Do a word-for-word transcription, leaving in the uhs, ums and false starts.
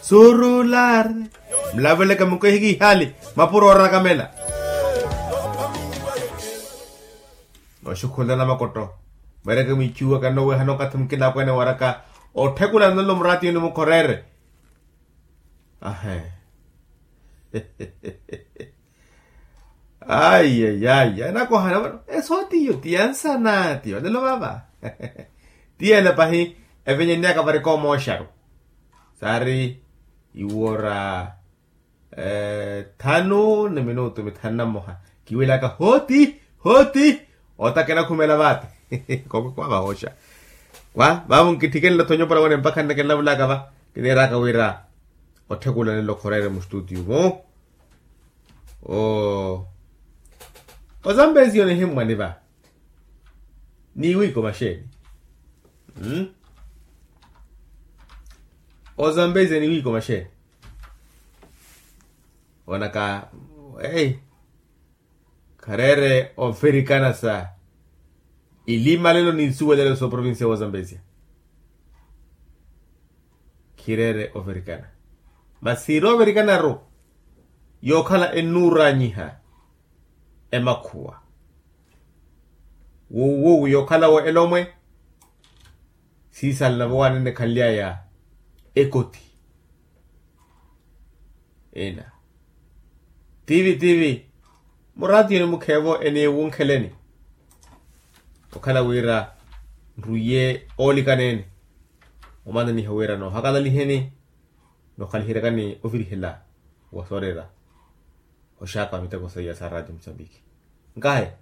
Surular. Mulaveleke mukehikiihali mapuro orakamela. Noxukhulana makotto. Mwereke mwichuwa kanoweha nokathi mukilapwene waraka otthekula nlolo muraatiyoni mukhorere. Ahe. Ayi ayi ayi anakohana vano esootiyo ti yansana ti valelo vava. Ti yela pahi evenyenniyaka vari koomooxaru. Saari iwora thanu ni minutu mithanu na mmoha. Kiwelaka hooti hooti. Otakena khumela vaati. Koko kwa vahooxa kwa vavo nkitthikenilatho nyopora wene mpakha nnakelavulaka va. Kineeraka wira otthekula nelo khorere mustutiyu mu. Ozambesiyo nihimmwani va niwiiko maxeeni. Ozambesiyo niwiiko maxeeni. Onaka ei khareere ovirikana sa ilimalelo ni nsuwelelo s'oprovincia w'ozambezia. Khireere ovirikana masi siiri ovirikanaru yookhala ennuuranyiha emakhuwa wuwuwu yookhala wo elomwe siisalana vowanene khanly'aya ekoti. Ina tivi tivi muraatiyoni mukheevo eniwunkheleni okhala wira nruiye oolikaneeni omananiha wira noohakalaliheni nookhaliheryakani ovirihela wa soorera oxaaka wa miteko seiya sa radio musambiki. Nkahe